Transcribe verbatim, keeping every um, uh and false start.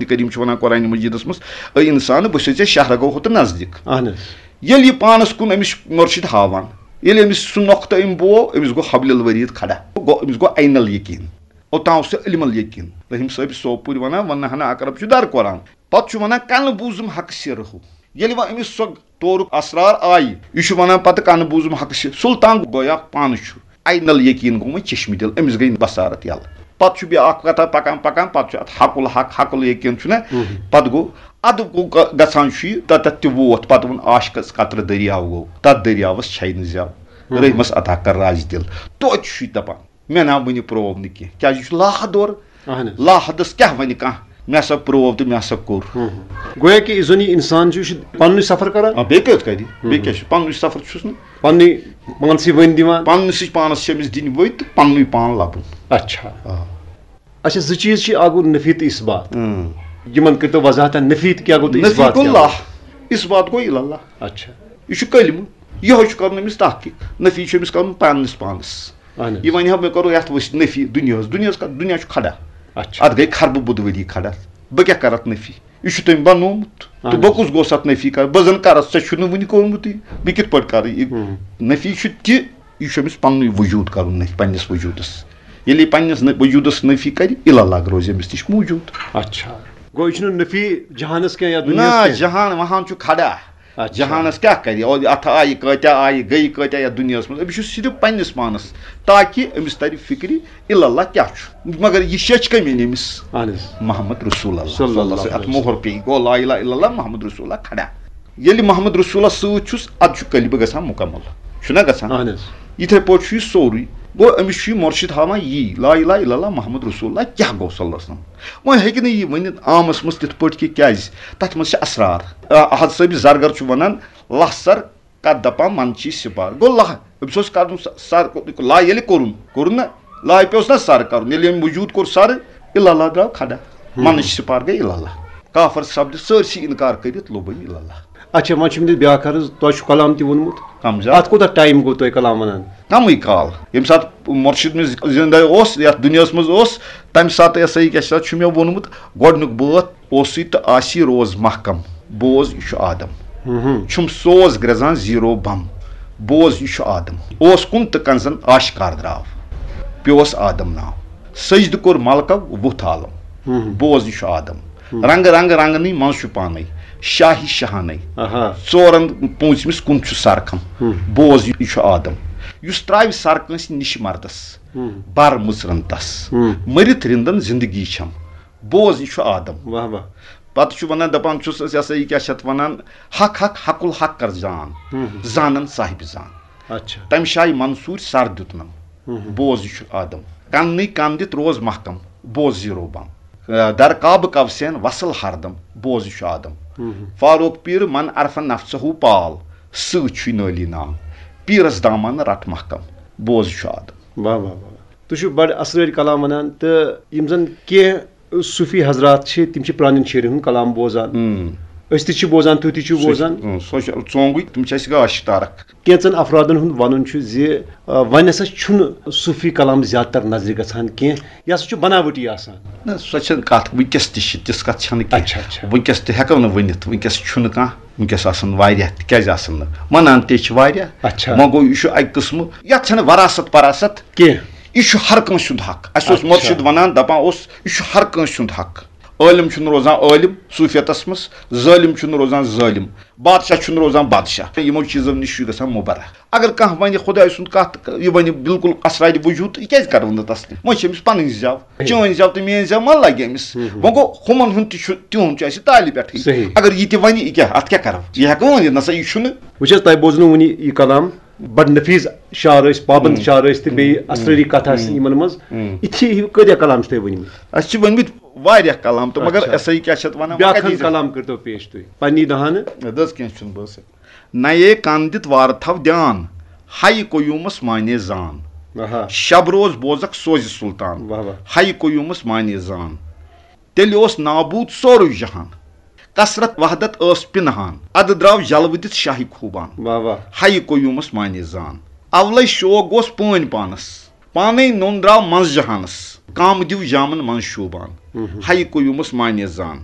کریم چھُ ونان قرآن مجیدس منٛز، "اے انسان، بہٕ چھُسے ژےٚ شہرگو ہوتہٕ نزدیٖک۔" اہن حظ۔ ییٚلہِ یہِ پانس کُن أمِس مرشد ہاوان، ییٚلہِ أمِس سُہ نۄقطہٕ أمۍ بوو، أمِس گوٚو حبل الورید کھڑا، گوٚو، أمِس گوٚو عین الیقین۔ اوٚتام اوس سُہ علم الیقین۔ رحیم صٲب سوپور ونان، "ونہٕ ہنا اقرب چھُ در قرآن۔" پتہٕ چھُ ونان، "کنہٕ بوٗزُم حقہٕ سِرہُ۔" ییٚلہِ وۄنۍ أمِس سۄ تورُک اسرار آیہِ، یہِ چھُ ونان پتہٕ، "کنہٕ بوٗزُم حقہٕ سِرہُ۔" سلطان گویا پانہٕ چھُ عین الیقین گوٚمُت چشمہِ دِل، أمِس گٔے بصارت یلہٕ۔ پتہٕ چھُ بیٛاکھ کتھا پکان پکان، پتہٕ چھُ اتھ حق الحق، حق الیقین چھُنہ۔ مہم۔ پتہٕ گوٚو، ادٕ گوٚو گ-، گژھان چھُ یہِ، تتٮ۪تھ تہِ ووت، پتہٕ ووٚن، "عاشقس قطرٕ دٔریاو گوٚو، تتھ دٔریاوس چھے نہٕ زٮ۪و، مہم۔ رحمس عطا کر راز دِل۔" توتہِ چھُ یہِ دپان، "مےٚ نا وُنہِ پروو نہٕ کینٛہہ۔" کیازِ یہِ چھُ لاحد اورٕ۔ اہن حظ۔ لاحدس کیٛاہ ونہِ کانٛہہ، "مےٚ ہسا پروو تہٕ مےٚ ہسا کوٚر۔" ہم۔ گویا کہِ یُس زن یہِ انسان چھُ، یہِ چھُ پننُے سفر کران۔ آ، بیٚیہِ کتہِ کرِ؟ بیٚیہِ ہم۔ کیٛاہ چھُ؟ پننُے سفر چھُس نہٕ۔ پننُے پانسٕے ؤنۍ دِوان۔ پننِسٕے پانس چھِ أمِس دِنۍ ؤنۍ تہٕ پننُے پان لبُن۔ اچھا۔ آ۔ اچھا، زٕ چیٖز چھِ، اکھ گوٚو نفی تہٕ اثبات۔ اۭں۔ یِمن کٔرۍتو وضاحت، نفی تہٕ کیٛاہ گوٚو تہٕ نفی اثبات گوٚو کیٛاہ گوٚو؟ اللہ، اثبات گوٚو الا اللہ۔ اچھا۔ یہِ چھُ کلمہٕ، یِہوٚے چھُ کرُن أمِس تحقیق۔ نفی چھُ أمِس کرُن پننِس پانس۔ اہن حظ۔ یہِ ونہِ ہا، مےٚ کرو یتھ ؤسۍ نفی دُنیاہس، دُنیاہس کا-، دُنیا چھُ کھڑا۔ اچھا۔ اتھ گٔے خربہٕ بُدؤری کھڑا۔ بہٕ کیٛاہ کرٕ اتھ نفی؟ یہِ چھُ تٔمۍ بنومُت۔ اہن تہٕ بہٕ حظ۔ کُس گوٚژھ اتھ نفی کرٕ؟ بہٕ زن کرٕ اتھ، ژےٚ چھُنہٕ وُنہِ کوٚرمُتٕے۔ بہٕ کِتھ پٲٹھۍ کرٕ یہِ؟ ہم۔ نفی چھُ تہِ، یہِ چھُ أمِس پننُے وجود کرُن نفی، پننِس وجودس۔ ییٚلہِ یہِ پننِس نہ-، وجودس نفی کرِ، الا اللہ روزِ أمِس نِش موجود۔ اچھا۔ گوٚو یہِ چھُنہٕ نفی جہانس کینٛہہ یا دُنیاہس نہ، کینٛہہ؟ جہان وہان چھُ کھڑا۔ اچھا۔ جہانس کیٛاہ کرِ؟ او، اتھ آیہِ کۭتیاہ آیہِ، گٔیہِ کۭتیاہ یتھ دُنیاہس منٛز؟ أمِس چھُ صرف پننِس پانس، تاکہِ أمِس ترِ فکرِ الا اللہ کیٛاہ چھُ۔ مگر یہِ شیٚچھ کٔمۍ أنۍ أمِس؟ اہن حظ۔ محمد رسول اللہ صلی اللہ صلی اللہ علیہ علیہ وسلم۔ اتھ مۄہر پیٚیہِ، گوٚو لا الہ الا اللہ محمد رسول اللہ کھڑا۔ ییٚلہِ محمد رسولس سۭتۍ چھُس، ادٕ چھُ قلبہِ گژھان مکمل، چھُنہ گژھان؟ اہن حظ۔ یِتھے پٲٹھۍ چھُ یہِ سورُے۔ گوٚو أمِس چھُ یہِ مرشد ہاوان یی، لا الہ الا اللہ محمد رسول اللہ کیٛاہ گوٚو صلی اللہ علیہ وسلم۔ وۄنۍ ہیٚکہِ نہٕ یہِ ؤنِتھ عامس منٛز تِتھ پٲٹھۍ کہِ کیٛازِ؟ تتھ منٛز چھِ اسرار۔ آ، احد صٲبِ زرگر چھُ ونان، لہہ سر کتھ دپان، من چی سپار۔ گوٚو لہہ، أمِس اوس کرُن س-، سر، لا ییٚلہِ کوٚرُن، کوٚرُن نہ، لا پیوس نہ سر کرُن۔ ییٚلہِ أمۍ وجود کوٚر سر، الا اللہ درٛاو کھڑا۔ ہم۔ منٕچ سپار گٔے الا اللہ۔ کافر سپدِ سٲرسٕے انکار کٔرِتھ لوٚب أمۍ الا اللہ۔ اچھا، وۄنۍ چھُ مےٚ بیٛاکھ عرض، تۄہہِ چھُ کلام تہِ ووٚنمُت۔ کم زیادٕ۔ اتھ کوٗتاہ ٹایم گوٚو تۄہہِ کلام ونان؟ کمٕے کال۔ ییٚمہِ ساتہٕ مرشد مےٚ زندے اوس، یتھ دُنیاہس منٛز اوس، تمہِ ساتہٕ یہِ ہسا یہِ کیٛاہ چھُ، چھُ مےٚ ووٚنمُت، گۄڈنیُک بٲتھ، اوسُے تہٕ آسی روز محکم، بوز یہِ چھُ آدم۔ ہم۔ چھُم سوز گرٛزان زیٖرو بم، بوز یہِ چھُ آدم۔ اوس کُن تہٕ کنزن آشکار درٛاو، پیوس آدم ناو۔ سجدٕ کوٚر ملکو وُتھ عالم، ہم۔ بوز یہِ چھُ آدم۔ ہم۔ رنگہٕ رنگہٕ رنگنٕے منٛز چھُ پانے، شاہی شاہانے۔ آہا۔ ژورن پوٗنٛژمِس کُن چھُ سرکھم، ہم۔ بوز یہِ چھُ آدم۔ یُس ترٛاوِ سر کٲنٛسہِ نِشہِ مردس، ہم۔ بر مٕژرن تس۔ ہم۔ مٔرِتھ رِندن زندگی چھم، بوز یہِ چھُ آدم۔ واہ واہ۔ پتہٕ چھُ ونان، دپان چھُس، یہِ ہسا یہِ کیٛاہ چھِ اتھ ونان، حق حق حق الحق کر زان، ہم۔ زانن صاحبِ زان۔ اچھا۔ تمہِ شاہہِ منصوٗر سر دیُتنم، ہم۔ بوز یہِ چھُ آدم۔ کننٕے کن دِتھ روز محکم، بوز زیٖرو بم۔ در کعبہٕ کوسین وصل ہردم، بوز یہِ چھُ آدم۔ ہم۔ فاروق پیٖر من عرفن نفسہو پال، سۭتۍ چھُے نٲلی نام۔ پیٖرس دامن رٹ محکم، بوز یہِ چھُ آدم۔ واہ واہ واہ۔ تُہۍ چھِو بڑٕ اسرٲرۍ کلام ونان، تہٕ یِم زن کینٛہہ صوٗفی حضرات چھِ، تِم چھِ پرٛانٮ۪ن شٲعرن ہُنٛد کلام بوزان۔ ہم۔ أسۍ تہِ چھِ بوزان، تُہۍ تہِ چھِو سُہ چھُ، بوزان۔ ہم، سۄ چھِ ژونٛگٕے، تِم چھِ اَسہِ گاش تارک۔ کینٛژن افرادن ہُنٛد ونُن چھُ زِ، آ، وۄنۍ ہسا چھُنہٕ صوٗفی کلام زیادٕ تر نظرِ گژھان کینٛہہ، یہِ ہسا چھُ بناوٹی آسان۔ نہ، سۄ چھَنہٕ کتھ، وٕنکیٚس تہِ چھِ تِژھ کتھ چھَنہٕ کینٛہہ۔ اچھا، اچھا۔ وٕنکیٚس تہِ ہٮ۪کو نہٕ ؤنِتھ، وٕنکیٚس چھُنہٕ کانٛہہ، وٕنکیٚس آسن واریاہ، تہِ کیٛازِ آسن نہٕ؟ ونان تہِ چھِ واریاہ۔ اچھا۔ وۄنۍ گوٚو، یہِ چھُ اکہِ قٕسمہٕ، یتھ چھَنہٕ وراثت پراثت۔ کینٛہہ۔ یہِ چھُ ہر کٲنٛسہِ ہُنٛد حق۔ اَسہِ اوس اچھا۔ مرشد وَنان، دَپان اوس، یہِ چھُ ہر کٲنٛسہِ ہُنٛد حق۔ عٲلِم چھُنہٕ روزان عٲلِم صوٗفیتَس منٛز، ظٲلِم چھُنہٕ روزان ظٲلِم، بادشاہ چھُنہٕ روزان بادشاہ۔ یِمو چیٖزو نِش چھُ گژھان مُبرہ۔ اگر کانٛہہ وَنہِ خۄداے سُنٛد کَتھ، یہِ وَنہِ بالکل اسرارِ وجوٗد، یہِ کیٛازِ کَرو نہٕ تسلیم؟ وۄنۍ چھِ أمِس پَنٕنۍ زٮ۪و، صحیح۔ چٲنۍ زٮ۪و تہٕ میٛٲنۍ زٮ۪و ما لَگہِ أمِس؟ ہُم، ہُم۔ وۄنۍ گوٚو، ہُمَن ہُنٛد تہِ چھُ، تِہُنٛد چھُ اَسہِ تالہِ پٮ۪ٹھٕے۔ صحیح۔ اگر یہِ تہِ وَنہِ، یہِ کیٛاہ، اَتھ کیٛاہ کَرو؟ یہِ ہٮ۪کو ؤنِتھ، نہ سا، یہِ چھُنہٕ۔ وٕچھ حظ، تۄہہِ بوٗزنو وٕنہِ یہِ کلام۔ بڑٕ نفیٖس شعر ٲسۍ، پابند ہم۔ شعر ٲسۍ تہٕ بیٚیہِ ہم۔ اسرٲری کتھا ٲسۍ ہم۔ یِمن منٛز۔ ہم۔ یِتھی ہیوٗ کۭتیاہ کلام چھِ تۄہہِ ؤنمٕتۍ؟ اَسہِ چھِ ؤنمٕتۍ واریاہ کلام تہٕ، مگر اچھا۔ ایسا ہی کیٛاہ چھِ اَتھ وَنان، بیٛاکھ وۄنۍ کَتہِ ہن یی کلام کٔرۍتو پیش تُہۍ پننی دہانہٕ۔ اَدٕ حظ، کینٛہہ چھُنہٕ، بہٕ حظ ہٮ۪کہٕ۔ نَیے کن دِتھ وارٕ تھاو دیان، ہَیہِ قیوٗمس معنی زان۔ آہا۔ شب روز بوزکھ سوزِ سلطان، واہ واہ۔ ہَیہِ قیوٗمس معنی زان۔ تیٚلہِ اوس نابوٗد سورُے جہان، کثرت وحدت ٲس پِنہان، اَدٕ درٛاو جلوٕ دِتھ شاہہِ خوٗبان۔ واہ واہ۔ ہَیہِ قیوٗمس معنی زان۔ اولے شوق گوس پٲنۍ پانس، پانے نوٚن درٛاو منٛز جہانس، کام دیو جامن منٛز شوٗبان۔ ہیہِ قیومس معنی زان،